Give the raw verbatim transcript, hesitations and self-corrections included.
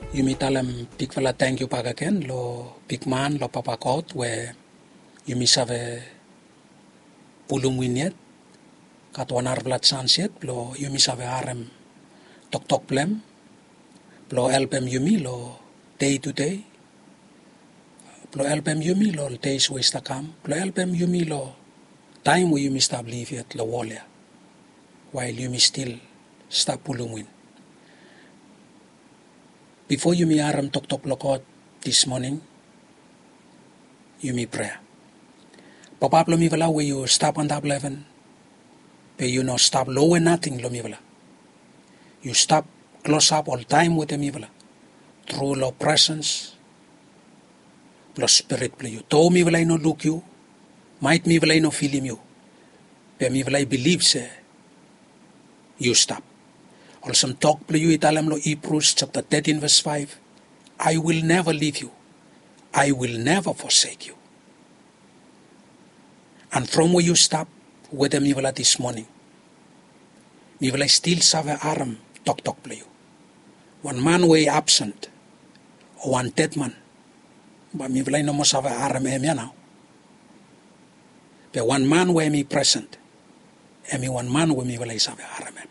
Yumi talem bigfala tangkiu bakegen lo bigman, lo Papa God, we yumi save pulum win yet. Gat wan narafala jans yet blo yumi save harem toktok blong hem, blo helpem yumi lo dei tu dei, blo helpem yumi lo deis we i stap kam, blo helpem yumi lo taem we yumi stap liv yet lo wol ya, wael yumi stil stap pulum win. Bifo yumi harem toktok blo God dis moning, yumi prea. Papa blo mifala we yu stap antap lo heven, be yu no stap lowe nating lo mifala. Yu stap klosap oltaem wetem mifala tru lo presens blo Spirit blo yu. Doa mifala i no luk yu, maet mifala i no filim yu, be mifala i bilif se yu stap. Olsem tok blo yu i talem lo Hibrus japta tetin ves faef, "I will never leave you, I will never forsake you." And from we yu stap wetem mifala dis moning, mifala i stil save harem toktok blo yu. Wan man we i absent, o wan dedman, bae mifala i no moa save harem hem ya nao. Be wan man we hem i present, hem i wan man we mifala i save harem hem.